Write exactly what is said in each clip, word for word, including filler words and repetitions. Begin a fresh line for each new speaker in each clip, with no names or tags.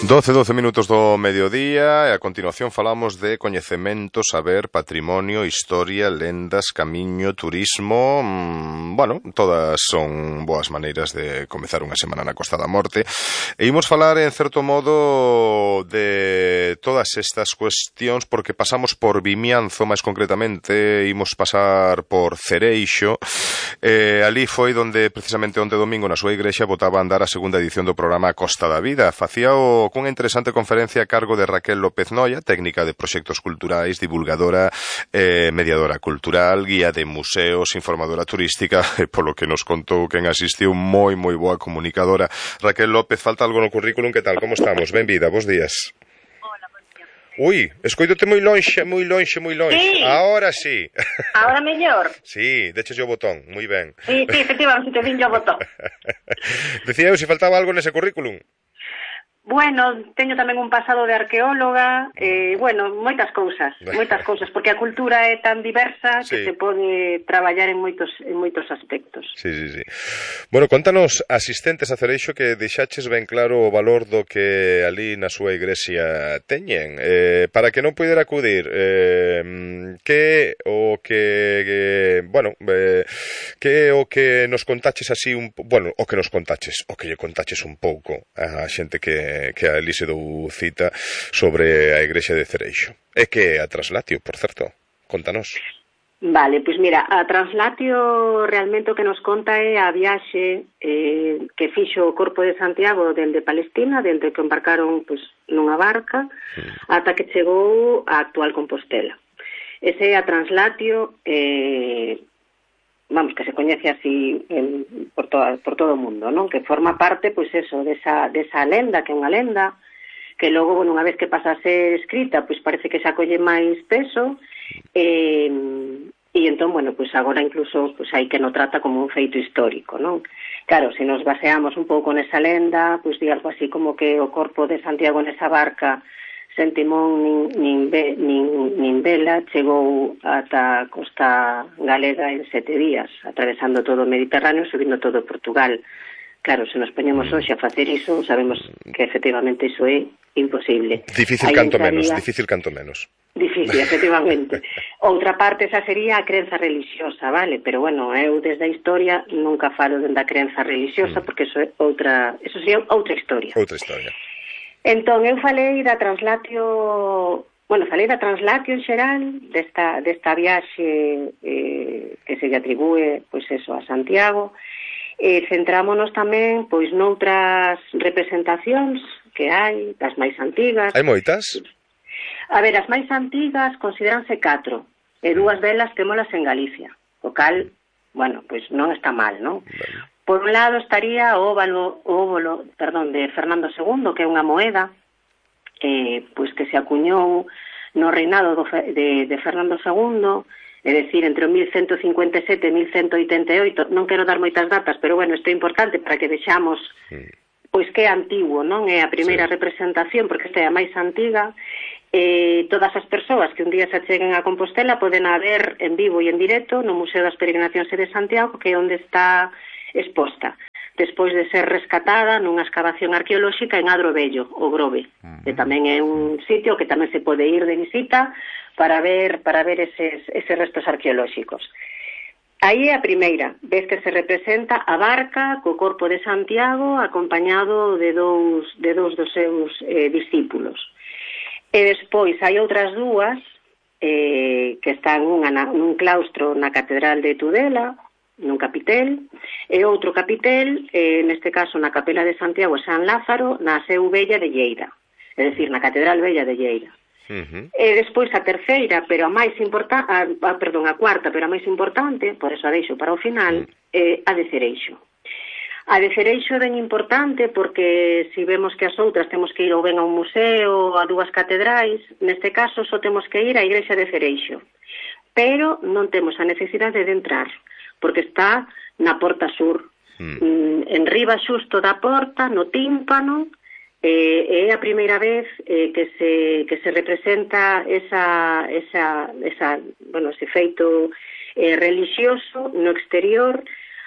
doce, doce minutos do mediodía e a continuación falamos de coñecemento, saber, patrimonio, historia, lendas, camiño, turismo. Mmm, bueno, todas son boas maneiras de comezar unha semana na Costa da Morte. E imos falar, en certo modo, de todas estas cuestións porque pasamos por Vimianzo, máis concretamente, imos pasar por Cereixo. Eh, ali foi donde, precisamente onte domingo, na súa igrexa, botaba a andar a segunda edición do programa Costa da Vida. Facía o cunha interesante conferencia a cargo de Raquel López Noia, técnica de proxectos culturais, divulgadora, eh, mediadora cultural, guía de museos, informadora turística, e polo que nos contou quen asistiu, moi, moi boa comunicadora. Raquel López, falta algo no currículum, que tal, como estamos? Benvida, bos días. Ui, escoídote moi lonxe, moi lonxe, moi lonxe.
Sí.
Ahora sí.
Ahora mellor.
Sí, deches o botón, moi ben.
Sí, sí, efectivamente, te vin o botón.
Decía eu se faltaba algo nese currículum.
Bueno, teño tamén un pasado de arqueóloga, eh, bueno, moitas cousas, moitas cousas, porque a cultura é tan diversa que
Sí.
se pode traballar en moitos en moitos aspectos.
Sí, sí, sí. Bueno, contanos, asistentes a Cereixo, que deixaches ben claro o valor do que ali na súa igrexa teñen. Eh, para que non puidera acudir, eh, que o que, que bueno, eh, que o que nos contaches así un, bueno, o que nos contaches, o que lle contaches un pouco a xente que que a ali se dou cita sobre a igrexa de Cereixo. É que a Traslatio, por certo. Contanos.
Vale, pois mira, a Traslatio realmente o que nos conta é a viaxe eh, que fixo o Corpo de Santiago dende Palestina, dende que embarcaron pois, nunha barca, mm. ata que chegou a actual Compostela. Ese é a Traslatio, eh, vamos, que se coñece así en, por, toda, por todo o mundo, non? Que forma parte, pois eso, desa, desa lenda, que é unha lenda, que logo, bueno, unha vez que pasa a ser escrita, pois parece que se acolle máis peso, e, e entón, bueno, pois agora incluso pois hai que no trata como un feito histórico, non? Claro, se nos baseamos un pouco nesa lenda, pois di algo así como que o corpo de Santiago nesa barca sen timón nin, nin, ve, nin, nin vela chegou ata a costa galega en sete días, atravesando todo o Mediterráneo, subindo todo Portugal. Claro, se nos poñemos hoxe a facer iso, sabemos que efectivamente iso é imposible.
Difícil
Aí
canto
entraría...
menos, difícil canto menos.
Difícil, efectivamente. Outra parte esa sería a crenza religiosa, vale? Pero bueno, eu desde a historia nunca falo dende a crenza religiosa, mm. porque eso é outra, eso sería outra historia.
Outra historia.
Entón, eu falei da Traslatio, bueno, falei da Traslatio en xeral, desta, desta viaxe eh, que se lle atribúe, pois eso, a Santiago, e centrámonos tamén, pois, noutras representacións que hai, das máis antigas.
Hai moitas?
A ver, as máis antigas consideranse catro, e dúas delas témolas en Galicia, o cal, bueno, pois non está mal, non? Bueno. Por un lado estaría o óvalo, o óvalo, perdón, de Fernando segundo, que é unha moeda eh, pois que se acuñou no reinado do, de, de Fernando segundo, é dicir, entre o mil cento cincuenta e sete e mil cento oitenta e oito. Non quero dar moitas datas, pero bueno, isto é importante para que vexamos pois que é antigo, non? É a primeira sí. representación, porque esta é a máis antiga. Eh, todas as persoas que un día se acheguen a Compostela poden a ver en vivo e en directo no Museo das Peregrinacións de Santiago, que é onde está exposta, despois de ser rescatada nunha excavación arqueolóxica en Adro Vello, o Grove, uh-huh. que tamén é un sitio que tamén se pode ir de visita para ver para ver eses, eses restos arqueolóxicos. Aí é a primeira vez que se representa a barca co Corpo de Santiago acompañado de dous, de dous dos seus eh, discípulos. E despois hai outras dúas eh, que están unha na, nun claustro na Catedral de Tudela, nun capitel, e outro capitel, eh, neste caso na Capela de Santiago e San Lázaro, na Seu Vella de Lleida, é dicir, na Catedral Vella de Lleida. Uh-huh. E despois a terceira, pero a máis importante, a, a, perdón, a cuarta, pero a máis importante, por eso a deixo para o final, uh-huh. é a de Cereixo. A de Cereixo é ben importante porque se vemos que as outras temos que ir ou ben a un museo ou a dúas catedrais, neste caso só temos que ir á igrexa de Cereixo. Pero non temos a necesidade de entrar, porque está na porta sur. Mm. En riba xusto da porta, no tímpano, eh, é a primeira vez eh, que se que se representa esa esa esa, bueno, ese feito eh, religioso no exterior,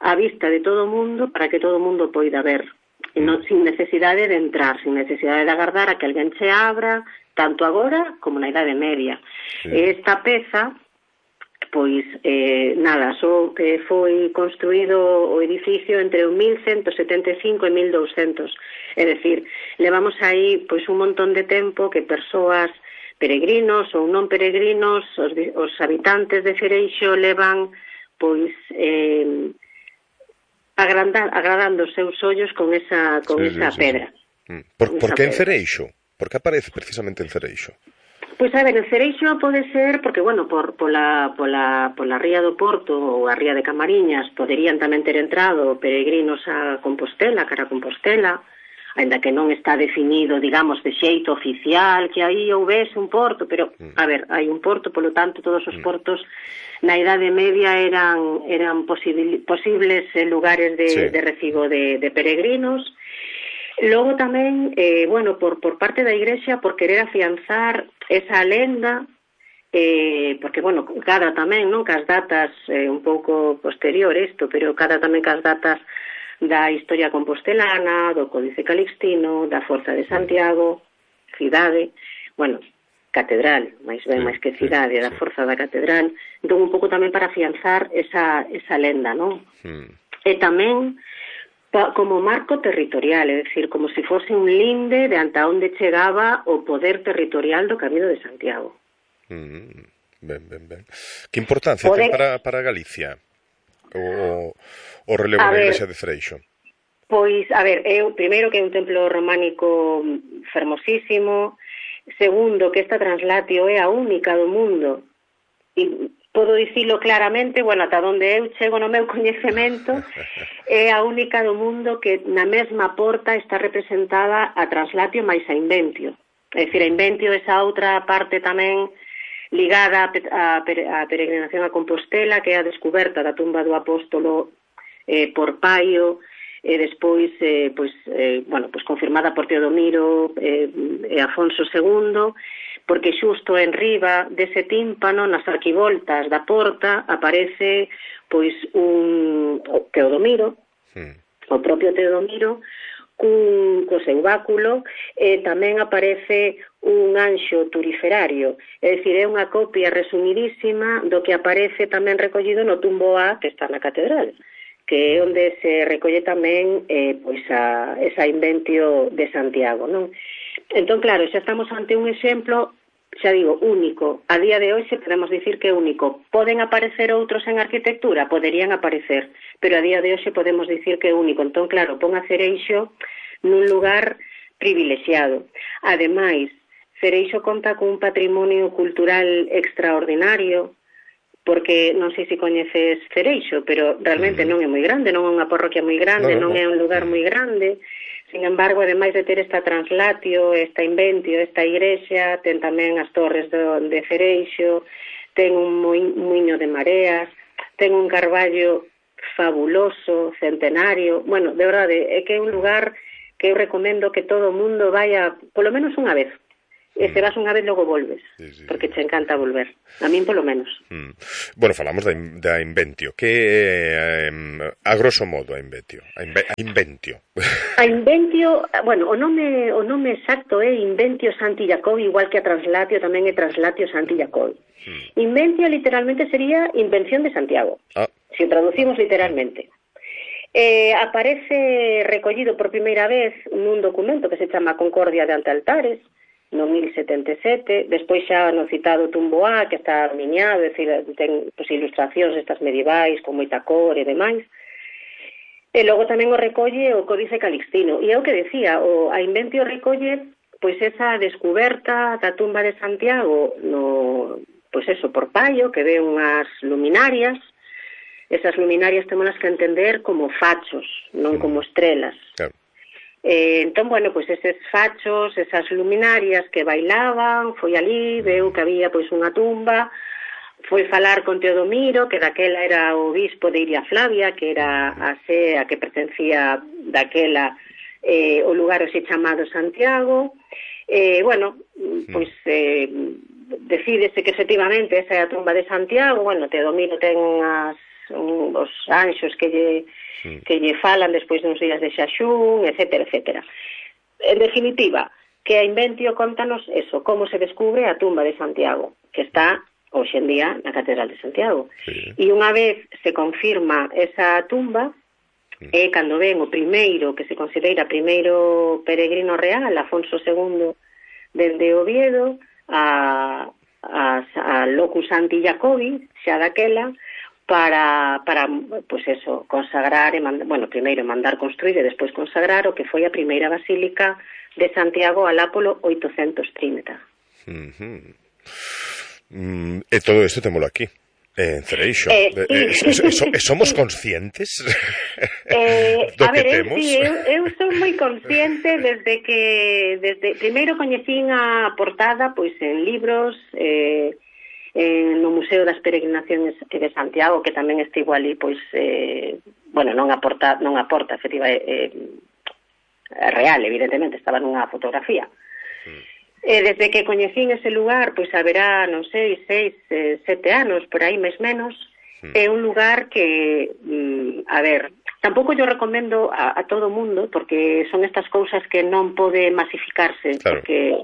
á vista de todo o mundo, para que todo o mundo poida ver. non, sin necesidade de entrar, sin necesidade de agardar a que alguén se abra, tanto agora como na Idade Media. Sí. Esta peza, pois, eh, nada, só que foi construído o edificio entre o mil cento setenta e cinco e mil douscentos. É dicir, levamos aí pois un montón de tempo que persoas peregrinos ou non peregrinos, os, os habitantes de Cereixo levan pois eh, agrandar, agradando os seus ollos con esa, con sí, esa sí, pedra.
Sí, sí. Por, por que en Cereixo? Por que aparece precisamente en Cereixo?
Pois a ver, en Cereixo pode ser porque, bueno, por pola, pola, pola ría do Porto ou a ría de Camariñas poderían tamén ter entrado peregrinos a Compostela, cara a Compostela, ainda que non está definido, digamos, de xeito oficial que aí houvese un porto, pero, a ver, hai un porto, polo tanto, todos os portos na Idade Media eran eran posibil, posibles lugares de, sí. de recibo de, de peregrinos. Logo tamén, eh, bueno, por, por parte da Igrexa, por querer afianzar esa lenda, eh, porque, bueno, cada tamén, non, cas datas eh, un pouco posterior isto, pero cada tamén cas datas da historia compostelana, do Códice Calixtino, da Forza de Santiago, cidade, bueno, catedral, máis ben, máis que cidade, da Forza da Catedral, entón un pouco tamén para afianzar esa, esa lenda, non? Mm. E tamén como marco territorial, é dicir, como se fose un linde de anta onde chegaba o poder territorial do Camiño de Santiago.
Mm, ben, ben, ben. Que importancia poder... ten para, para Galicia o, o relevo da Igrexa de Cereixo?
Pois, a ver, eu, primeiro que é un templo románico fermosísimo, segundo que esta translatio é a única do mundo, e podo dicilo claramente, bueno, ata onde eu chego no meu coñecemento, é a única do mundo que na mesma porta está representada a translatio máis a inventio. É dicir, a inventio é esa outra parte tamén ligada a, a peregrinación a Compostela, que é a descoberta da tumba do apóstolo eh, por Paio, e despois, eh, pois, eh, bueno, pois confirmada por Teodomiro eh, e Afonso segundo, porque xusto en riba dese tímpano, nas arquivoltas da porta, aparece pois un Teodomiro, sí. o propio Teodomiro, cun, co seu báculo, e tamén aparece un anxo turiferario, é dicir, é unha copia resumidísima do que aparece tamén recollido no tumbo A, que está na catedral, que é onde se recolle tamén eh, pois a, esa inventio de Santiago, non? Entón, claro, xa estamos ante un exemplo, xa digo, único. A día de hoxe podemos dicir que é único. Poden aparecer outros en arquitectura? Poderían aparecer, pero a día de hoxe podemos dicir que é único. Entón, claro, pon a Cereixo nun lugar privilexiado. Ademais, Cereixo conta cun patrimonio cultural extraordinario, porque non sei se coñeces Cereixo, pero realmente uh-huh. non é moi grande, non é unha parroquia moi grande, no, non é un lugar moi grande. Sin embargo, ademais de ter esta translatio, esta inventio, esta igrexa, ten tamén as torres do, de Cereixo, ten un muiño de mareas, ten un carballo fabuloso, centenario. Bueno, de verdade, é que é un lugar que eu recomendo que todo o mundo vaya, polo menos unha vez. E se vas unha vez, logo volves, sí, sí, porque te encanta volver. A min, polo menos.
Mm. Bueno, falamos da, da inventio. Que, eh, a grosso modo, a inventio? A, inve, a inventio.
A inventio, bueno, o nome, o nome exacto é Inventio Santi Jacobi, igual que a translatio tamén é Translatio Santi Jacobi. Mm. Inventio, literalmente, sería invención de Santiago, ah. se o traducimos literalmente. Eh, aparece recollido por primeira vez nun documento que se chama Concordia de Antealtares, no mil setenta e sete, despois xa no citado tumbo A, que está miñado, é dicir, ten pues, ilustracións estas medievais, con moita cor e demais. E logo tamén o recolle o Códice Calixtino. E é o que decía, o, a inventio recolle pois esa descuberta da tumba de Santiago, no, pois eso, por Paio, que ve unhas luminarias. Esas luminarias temolas que entender como fachos, non como estrelas. Claro. Eh, entón, bueno, pois eses fachos, esas luminarias que bailaban, foi ali, veu que había pois unha tumba, foi falar con Teodomiro, que daquela era o obispo de Iria Flavia, que era a sé a que pertencía daquela eh, o lugar hoxe chamado Santiago. Eh, bueno, pois eh, decídese que efectivamente esa é a tumba de Santiago. Bueno, Teodomiro ten as un, os anxos que lle, sí. que lle falan despois de uns días de xaxún, etcétera, etcétera. En definitiva, que a Inventio contanos eso, como se descubre a tumba de Santiago, que está hoxe en día na Catedral de Santiago. Sí. E unha vez se confirma esa tumba, sí. é cando ven o primeiro, que se considera primeiro peregrino real, Afonso segundo, dende Oviedo, a, a, a Locus Santi Jacobi, xa daquela, para, para pues eso, consagrar, e manda, bueno, primeiro mandar construir e despois consagrar o que foi a primeira basílica de Santiago alá polo oitocentos trinta.
Uh-huh. Mm, e todo isto témolo aquí, en Cereixo.
Eh, sí.
eh, eh, so, somos conscientes
eh,
do
a
que
ver,
temos?
Sí, eu, eu sou moi consciente desde que desde primeiro coñecín a portada pois en libros, eh, en, no Museo das Peregrinacións de Santiago, que tamén estivo ali, pois eh, bueno, non a porta, non a porta efectiva eh, real, evidentemente, estaba nunha fotografía. Mm. E desde que coñecín ese lugar, pois haberá, non sei, seis, eh, sete anos, por aí, máis menos, mm. é un lugar que, mm, a ver, tampouco yo recomendo a, a todo o mundo, porque son estas cousas que non pode masificarse, claro. Porque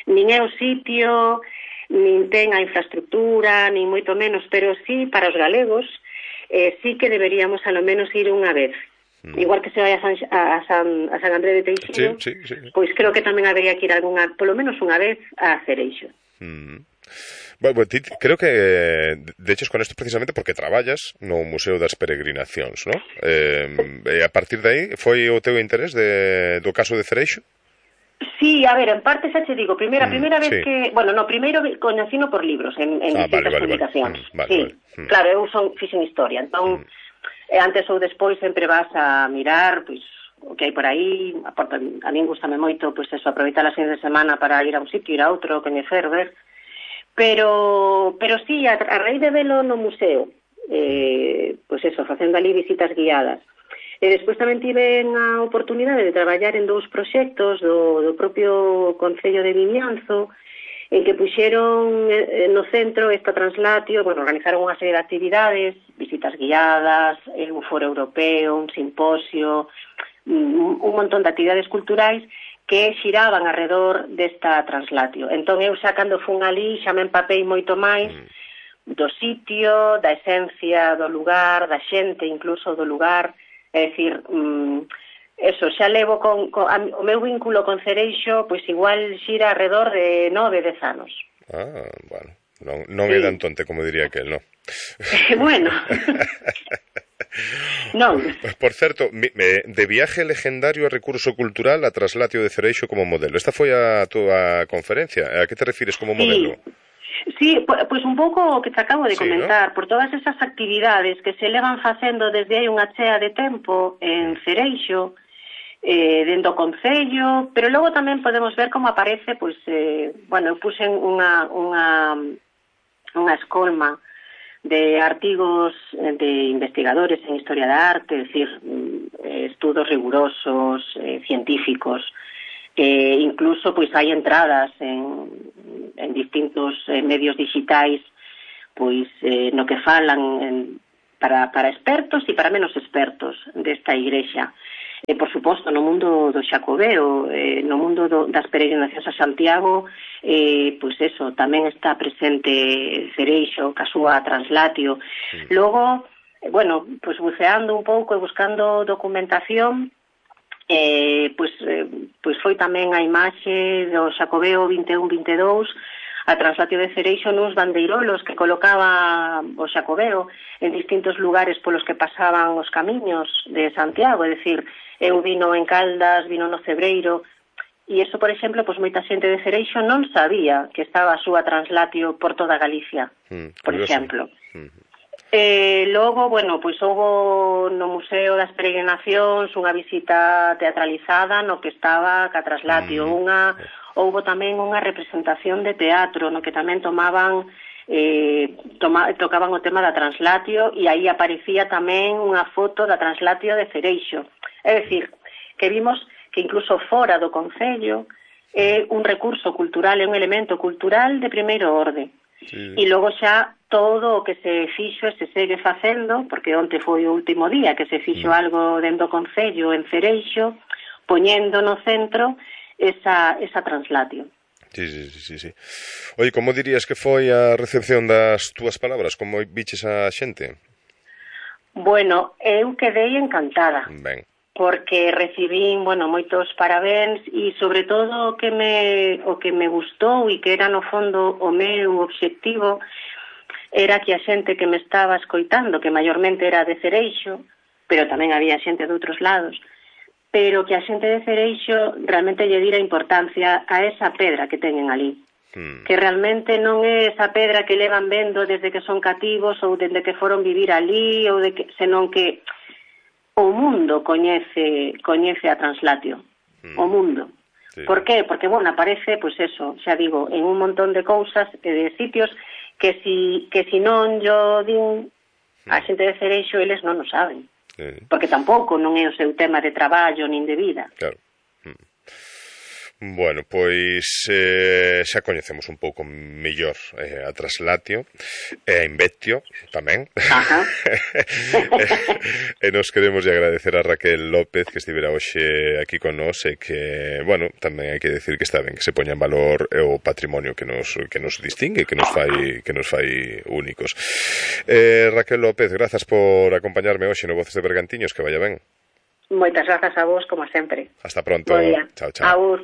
nin é o sitio, nin ten a infraestructura, nin moito menos, pero sí, para os galegos, eh, sí que deberíamos a lo menos ir unha vez. Igual que se vai a San, a San, a San André de Teixeiro, sí, sí, sí. Pois creo que tamén habería que ir algunha, polo menos unha vez a Cereixo.
Mm. Bueno, ti, creo que de hecho con esto precisamente porque traballas no Museo das Peregrinacións, ¿no? Eh, e a partir de aí foi o teu interés de, do caso de Cereixo?
Sí, a ver, en parte xa te digo, primeira, mm, primeira vez sí. que, bueno, no, primeiro coñecino por libros en, en ah, distintas vale, vale, publicacións. Vale. Mm, vale, sí, vale. Mm. Claro, eu son fixen historia, entón mm. E antes ou despois sempre vas a mirar pois o que hai por aí, a, a min gustame moito pois eso, aproveitar as fines de semana para ir a un sitio, ir a outro, coñecer, ver. Pero pero sí, a, a raíz de velo no museo, eh, pois eso, facendo ali visitas guiadas. E despois tamén tive a oportunidade de traballar en dous proxectos do, do propio Concello de Vimianzo, en que puxeron no centro esta translatio, bueno, organizaron unha serie de actividades, visitas guiadas, un foro europeo, un simposio, un, un montón de actividades culturais que xiraban alrededor desta translatio. Entón eu xa cando fun ali xa me empapei moito máis do sitio, da esencia do lugar, da xente incluso do lugar, é dicir, mmm, eso, xa levo con, con a, o meu vínculo con Cereixo, pois igual xira alrededor de nove, dez anos.
Ah, bueno, non, non sí. É tan tonte como diría aquel, non?
Bueno. Non.
Por certo, de viaje legendario a recurso cultural a traslatio de Cereixo como modelo. Esta foi a túa conferencia. A que te refires como modelo?
Sí, pois pues un pouco o que te acabo de sí, comentar, ¿no? Por todas esas actividades que se levan facendo desde hai unha chea de tempo en Cereixo, eh, dentro do Concello, pero logo tamén podemos ver como aparece, pois, eh, bueno, eu puxen unha, unha, unha escolma de artigos de investigadores en historia da arte, es decir, estudos rigurosos, eh, científicos, eh, incluso pois hai entradas en, en distintos eh, medios digitais, pois eh, no que falan en, para, para expertos e para menos expertos desta igrexa. E, por suposto, no mundo do Xacobeo, eh, no mundo do, das peregrinacións a Santiago, eh, pois eso, tamén está presente Cereixo, ca súa translatio. Sí. Logo, eh, bueno, pois buceando un pouco e buscando documentación, eh, pois, eh, pois foi tamén a imaxe do Xacobeo vinte e un vinte e dous, a translatio de Cereixo nos bandeirolos que colocaba o Xacobeo en distintos lugares polos que pasaban os camiños de Santiago, é dicir, eu vino en Caldas, vino no Cebreiro, e iso, por exemplo, pois moita xente de Cereixo non sabía que estaba a súa translatio por toda Galicia, mm, por exemplo. Mm. Eh, logo, bueno, pois houve no Museo das Peregrinacións unha visita teatralizada no que estaba ca translatio, mm. unha, houve tamén unha representación de teatro no que tamén tomaban eh, toma, tocaban o tema da translatio e aí aparecía tamén unha foto da translatio de Cereixo. É dicir, que vimos que incluso fora do Concello é un recurso cultural, é un elemento cultural de primeiro orde. sí. E logo xa todo o que se fixo e se segue facendo, porque onte foi o último día que se fixo mm. algo dentro do Concello en Cereixo, poñendo no centro esa, esa translatio.
Sí, sí, sí, sí. Oi, como dirías que foi a recepción das túas palabras? Como viches a xente?
Bueno, eu quedei encantada.
Ben.
Porque recibín, bueno, moitos parabéns e sobre todo o que me o que me gustou e que era no fondo o meu obxectivo era que a xente que me estaba escoitando, que maiormente era de Cereixo, pero tamén había xente de outros lados, pero que a xente de Cereixo realmente lle dira importancia a esa pedra que teñen ali. Hmm. Que realmente non é esa pedra que levan vendo desde que son cativos ou desde que foron vivir ali, ou de que, senón que o mundo coñece coñece a translatio, mm. o mundo. Sí. Por qué? Porque, bueno, aparece, pois pues eso, xa digo, en un montón de cousas e de sitios que si, que si non yo din a xente de Cereixo, eles non o saben. Sí. Porque tampouco non é o seu tema de traballo nin de vida.
Claro. Mm. Bueno, pois eh, xa coñecemos un pouco mellor eh, a Translatio e a Invetio tamén.
Ajá.
E nos queremos agradecer a Raquel López que estivera hoxe aquí con nós e que, bueno, tamén hai que decir que está ben que se poña en valor o patrimonio que nos que nos distingue, que nos fai que nos fai únicos. Eh, Raquel López, grazas por acompañarme hoxe no Voces de Bergantiños, que vaya ben.
Moitas grazas a vos, como sempre.
Hasta pronto.
Chao, chao. Agur.